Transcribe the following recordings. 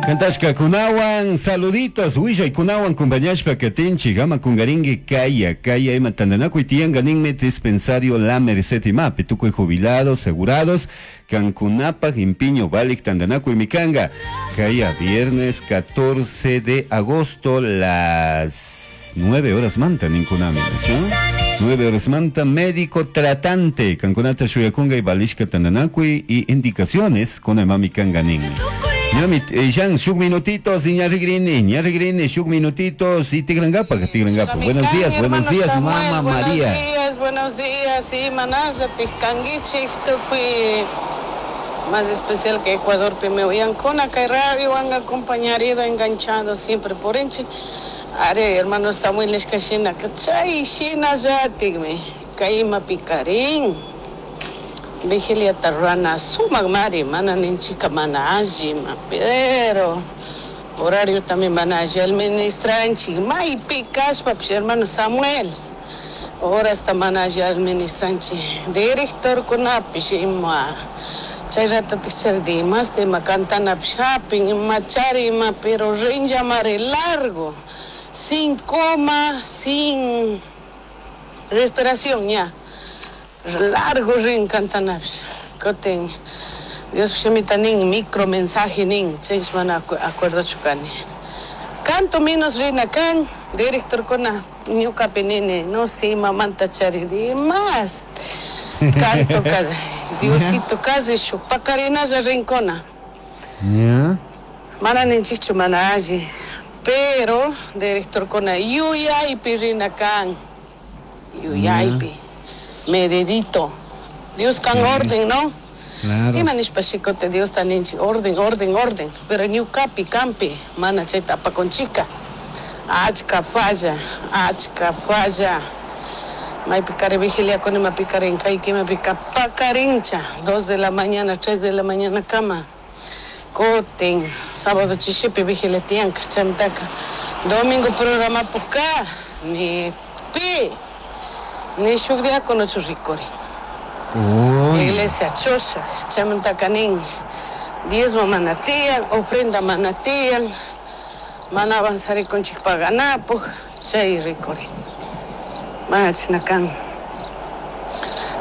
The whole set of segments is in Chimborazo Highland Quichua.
Kantashkakunawan saluditos willaykunawan kumpañashpa katinchik ama kungarinki kaya kaya ima tantanakuy tiyanka ninmi dispensario La Merced imapi tukuy jubilados asegurados kankunapaj impiño valik tantanakuymi kanka kaya viernes 14 de agosto las 9 horas manta ninkunami ¿sí? 9 horas manta médico tratante kankunata shuyakunka y valishka tantanakuy y indicaciones kuna imami kanka nin. Ñami, Jan, shuk minutitos, ñarrigrini, ñarrigrini, shuk minutitos, y tigrangapa, tigrangapa. Buenos días, buenos días, Samuel, mamá María. Buenos días, buenos días, sí, manaya, tijkanguichik, tukuy, más especial que Ecuador, primero, y Ancona, que radio han acompañado, enganchado siempre por enche. Are, hermano Samuel, es que shina, chay, shina ya, tigme, kaima picarín. Vigilia tarrana, sumak mari, mana ninchika mana allí, ma, pero horario también van a administranchi, maypi kashpapish hermano Samuel, horasta mana alli administranchi, directorkunapish ima, chay ratotik chari dimasta ima cantanapish hapin, ima chari ima, pero rinllamari largo, sin coma, sin respiración ya, largo rin cantanapish, kutin Dios shimita nin, micro mensaje nin, chaysh mana acuerdochu kani. Canto menos rina kan, director kuna ñukapi nini, no sé, mamanta chari, más. Canto cada, Diosito casi shuk pakarinalla rincona. Ya. Mana ninchikchu mana alli, pero director kuna yuyaypi rina kan, yuyaypi, medidito. Dios kan orden, ¿no? Claro. Ima nishpa shikote Diosta ninchi, orden, orden, orden. Pero ñukapi, kampi, mana chayta apakunchika. Achka falla, achka falla. Maypi kari vigiliakuni, maypi karin kayki, maypi pakarincha. 2 de la mañana, 3 de la mañana kama. Kutin, sábado chishipi vigilia tiyanka, chantaka. Domingo programa puka, ni pi, ni shuk diácono churrikuri. Uy. Iglesia Chosha, Chamantakanin, diezmo manatian, ofrenda manatian, mana avanzar con chikpaganapo, chay ricori. Manachnakan.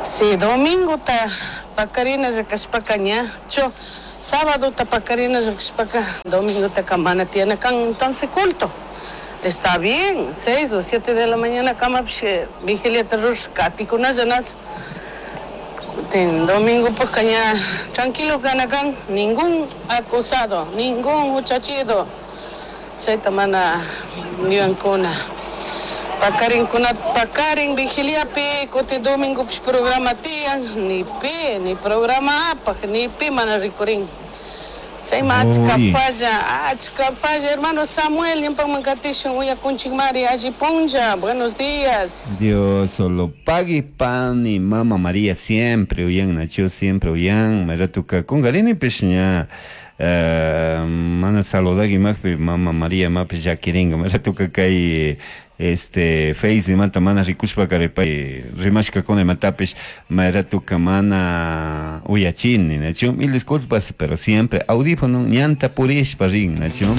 Si domingo ta pacarina yakashpaka ña, cho, sábado ta pacarina yakashpaka, domingo ta kamana tianakan, entonces culto. Está bien, 6 o 7 de la mañana, kama vigilia terror, katikuna yanach. Ten domingo pues caña, tranquilo canacan, ningún acusado, ningún muchachito. Chayta mana yuyankuna. Pakarin kuna pakarin vigiliapi, kuti domingo pis programa tiyan, ni pi, ni programa apaj, ni pi mana rikurin. Chayma achka Uy. falla, achka falla, hermano Samuel, ñampanman katishun, uyakunchik mari, alli punlla, buenos días. Dios solo pague pan y mamá María siempre uyan, Nacho siempre uyan, maratuka kungarini pishña. Mana saludagi makpi mama María mapi llakiringa maratuka kay este face mata mana rikushpa karipay rimashka kuna matapish maratuka mana uyachini Nacho, mil disculpas pero siempre audífono ñanta purishpa rin Nacho.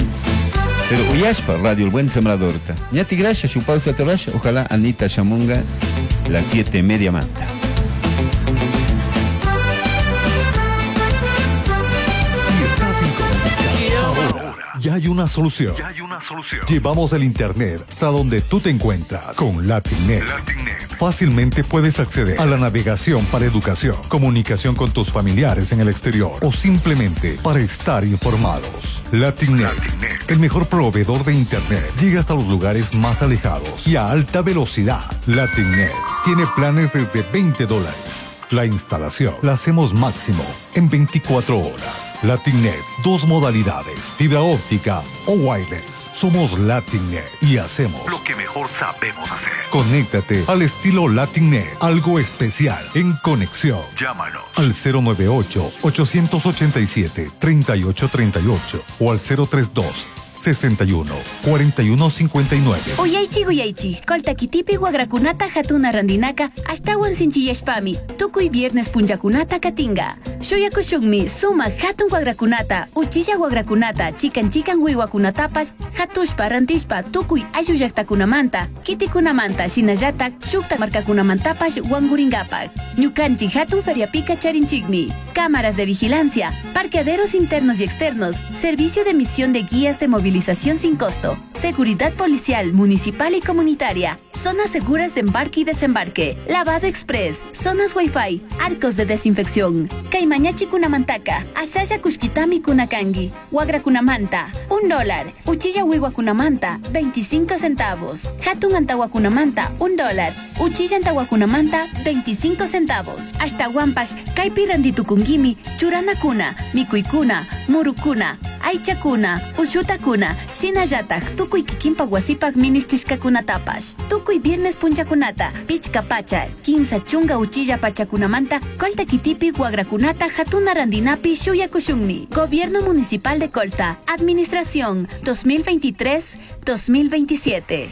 Pero uyashpa Radio El Buen Sembrador. Ñati gracias, su pausa te rasha. Ojalá Anita Shamunga las 7:30 manta. Si estás incomunicado, ahora ya hay una solución. Ya hay una solución. Llevamos el internet hasta donde tú te encuentras con LatinNet. LatinNet. Fácilmente puedes acceder a la navegación para educación, comunicación con tus familiares en el exterior o simplemente para estar informados. LatinNet, LatinNet. el mejor proveedor de internet, llega hasta los lugares más alejados y a alta velocidad. LatinNet tiene planes desde veinte dólares. La instalación la hacemos máximo en 24 horas. LatinNet, 2 modalidades, fibra óptica o wireless. Somos LatinNet y hacemos lo que mejor sabemos hacer. Conéctate al estilo LatinNet, algo especial en conexión. Llámanos al cero nueve ocho, ochocientos ochenta y siete, treinta y ocho treinta y ocho o al cero tres dos, sesenta y uno, cuarenta y uno, cincuenta y nueve. Uyaychi, uyaychi, koltakitipi wagrakunata hatuna randinaka ashtawan sinchiyashpami, tukuy viernes punllakunata katinga. Shuyakushunmi sumak hatun wakrakunata, uchilla wakrakunata, chikan chikan wiwakunatapash hatushpa rantishpa tukuy ayllu llaqtakunamanta, kitikunamanta shinallatak shukta markakunamantapash wankurinkapak. Ñukanchik hatun feriapika charinchikmi. Cámaras de vigilancia, parqueaderos internos y externos, servicio de emisión de guías de movilización sin costo, seguridad policial, municipal y comunitaria, zonas seguras de embarque y desembarque, lavado express, zonas wifi, arcos de desinfección. Kaymañachi kunamantaka, ashalla kushkitami kunakangi, wagrakunamanta, $1, uchilla wiwakunamanta, 25 centavos, hatun antawakunamanta, $1, uchilla antawakunamanta, 25 centavos. Hasta wampash, kaypi rantitukunkimi, churanakuna, mikuykuna, murukuna, aychakuna, ushutakuna, shinallatak tukuy kikinpak wasipak ministishkakunatapash. Tukuy viernes punchakunata, pichka pacha, 30 uchilla pachakunamanta, Colta kitipi wagrakunata hatuna randinapi shuyakushunmi. Gobierno Municipal de Colta, Administración 2023-2027.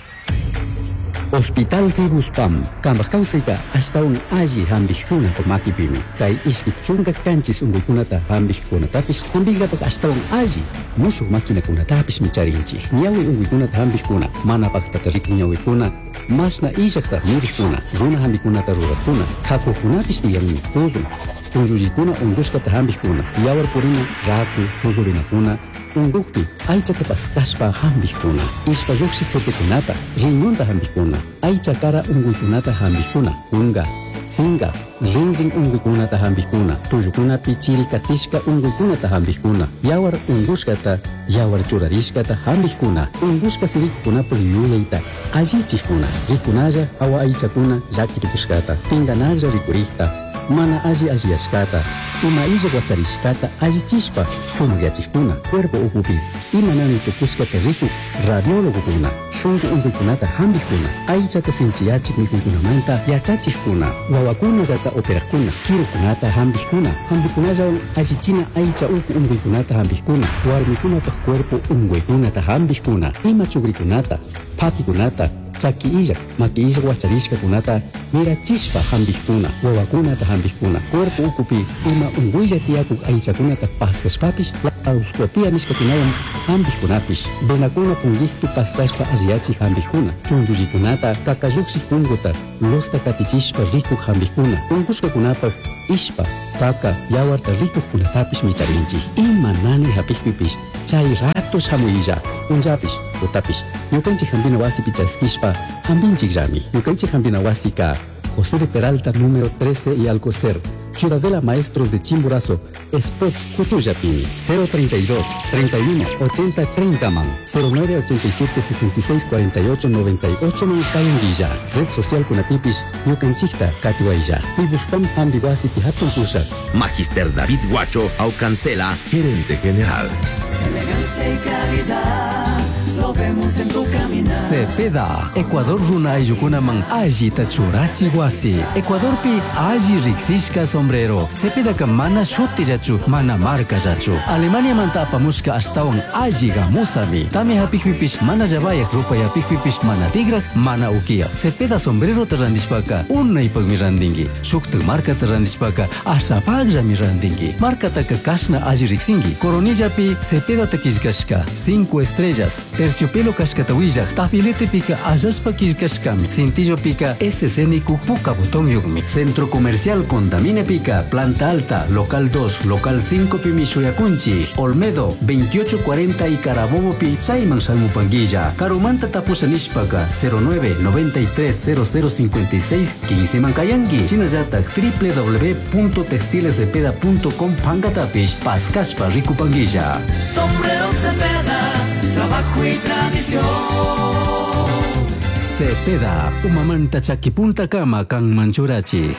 Hospital Fibuspam, kambaj kawsayta ashtawan alli hampikuna makipimi. Kay ishki chunka kanchis unkuykunata hampikkunatapish hampinkapak ashtawan alli mushuk maquinakunatapish micharinchik. Ñawi unkuykunata hampikkuna, mana paktata rikun ñawikuna, mashna illakta mirikkuna, runa hampikunata rurakuna, hakukunapish tiyanmi tuzun. Chunllullikuna unkushkata hampikkuna, yawar purina, raku, chuzurinakuna, unkukpi aychata paskashpa hampikkuna, ishpa lluqshik tutukunata, riñonta hampikkuna, aycha kara unkuykunata hampikkuna, kunka, sinka, rinrin unkuykunata hampikkuna, tullukunapi chiri katishka unkuykunata hampikkuna, yawar unkushkata, yawar churarishkata hampikkuna, unkushka sirikukunapuk yuyayta allichikkuna, rikunalla hawa aychakuna llakirikushkata, pinkanaklla rikurikta, mana alli alliyashkata, ima illak wacharishkata allichishpa sumakyachikuna, cuerpo ukupi ima nani tukushkata rikuk radiólogokuna, shunku unkuykunata hampikkuna, aychata sinchiyachik mikuykunamanta yachachikkuna, wawakunallata operajkuna, kirukunata hampikkuna, hampikunallawan allichina aycha uku unkuykunata hampikkuna, warmikunapak cuerpo unkuykunata hampikkuna, ima chukrikunata, pakikunata, chaki illak, maki illak wacharishkakunata mirachishpa hampikkuna, wawakunata hampikkuna, cuerpo ukupi ima unkuylla tiyakuk aychakunata paskashpapish laparoscopia nishkakunawan hampikkunapish, venakuna punkikpi paskashpa alliyachik hampikkuna, chunllullikunata kakalluksik punkuta losta katichishpa rikuk hampikkuna, unkushkakunapak ishpa, kaka, yawarta rikukkunatapish micharinchik. Ima nani hapikpipish chay rato shamuylla, punllapish, tutapish, ñukanchik hampina wasipi chaskishpa hampinchikllami. Ñukanchik hampina wasika José de Peralta número 13 y Alcocer, Ciudadela Maestros de Chimborazo, Spot Cuchuyapini, 032 31 80 30 man, 09 87 66 48 98 man Kayunguilla, Red Social Kunatipis, Ñukanchikta Katiwaylla, Pibuspam Hambiwasi Pihatun Pushak. Magister David Guacho Aucancela, gerente general. Elegancia y calidad, lo vemos en tu caminar. Cepeda, Ecuador runa ayllukunaman allita churachi wasi. Ecuadorpi alli riksishka sombrero. Cepedaka mana shutillachu, mana markallachu. Alemaniamanta apamushka ashtawan alli gamusami. Tamya hapikpipish mana llavayak, rupay hapikpipish mana tigrak, mana ukiyak. Cepeda sombrerota randishpaka unaypakmi randinki. Shuktak markata randishpaka ashapakllami randinki. Markataka kashna alli riksinki. Coronillapi Cepedata killkashka 5 estrellas. Terciopelo kashkata willak, tafiletepika allashpa killkashkami. Cintillopika SC puka botón yukmi. Centro Comercial Contamine Pica, Planta Alta, Local 2, Local 5 pimi Shuyakunchi, Olmedo, 2840 y Carabobo pi Chayman Shalmupanguilla, Karumanta Tapusha nishpaka, 09 93 00 56 15 Mancayanqui, Chinallatak www.textilescepeda.com pankatapish, Pascashpa Rikupanguilla. Sombrero Cepeda, trabajo y tradición. Cepeda, Umamanta Chaquipunta Kama, Kanmanchurachik.